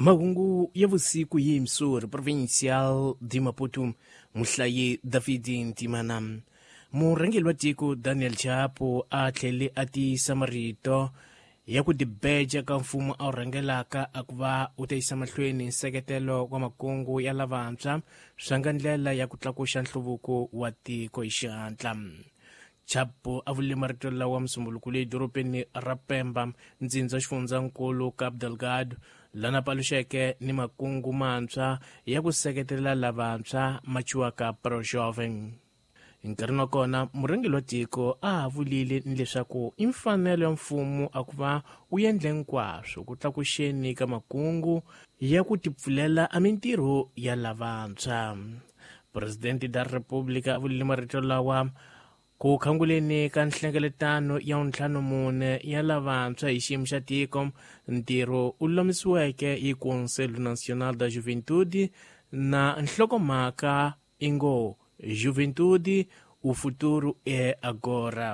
Mahungu ya vusiku hi Missouri Provincial de Maputo, muhlayi David Ntimana. Murhangeri wa tiko Daniel Chapo a tlhele a tiyisa marito ya ku tibeja ka mfumo a wu rhangelaka a ku va wu ta yisa mahlweni nseketelo wa makungu ya lavantshwa swa nga ndlela ya ku tlakuxa nhluvuko wa tiko hi xihatla. Chapo a vule marito lawa Musumbuluku leyi dorobeni ra Pemba, ntsindza xifundzankulu Cabo Delgado, lana paluxeke ni makungu mantshwa ya ku seketela lavantshwa ma ciwaka Pro-Jovem. Nkarhini wa kona, murhangeri wa tiko a ha vulile ni leswaku i mfanelo ya mfumo a ku va wu endle hinkwaswo ku tlakuxeni ka makungu ya ku tipfulela a mintirho ya lavantshwa. Presidente da República a vulile marito lawa ku khanguleni ka nhlengeletano ya 54 ya lavantshwa hi xiyimo xa tiko, ntirho u lulamisiweke hi Conselho Nacional da Juventude na nhlokomhaka i ngo Juventude, o futuro é agora.